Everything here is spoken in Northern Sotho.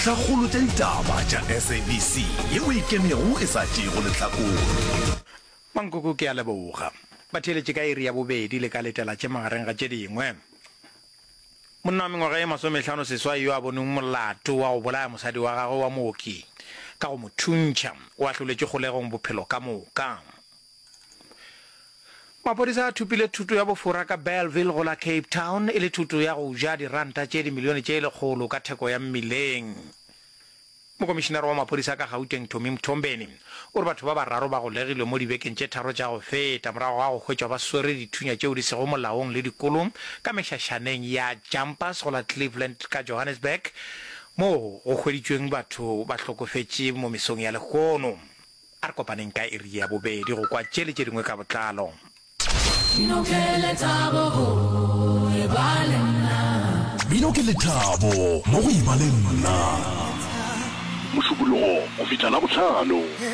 Dintlhakgolo tša ditaba tša SABC yeo e ikemego e sa tšeego lehlakore. Mankoko ke a leboga. Batheeletši ka iri ya bobedi le ka letela tše magareng ga tše dingwe. Monna wa mengwaga ye masomehlano seswai yo a bonweng molato wa go bolaya mosadi wa gagwe wa mooki ka go mo thuntšha o ahloletšwe kgolegong bophelo ka moka. Maphodisa a thopile thoto ya bofora ka Bellville go la Cape Town e le thoto ya go ja diranta tše dimilione tše lekgolo ka theko ya mmileng. Mokomišinara wa maphodisa ka Gauteng Tommy Mthombeni o re batho ba bararo ba golegilwe mo dibekeng tše tharo tša go feta morago ga go hwetšwa ba swere dithunya tšeo di sego molaong le dikolo ka mešašaneng ya Jumpers go la Cleveland ka Johannesburg moo go hweditšweng batho ba hlokofetše mo mesong ya lehono. A re kopaneng ka iri ya bobedi go kwa tše le tše dingwe ka botlalo. Mmino ke lethabo go e ba le nna. Mmino ke lethabo mo go e ba le nna. Mošupologo go fihla Labohlano.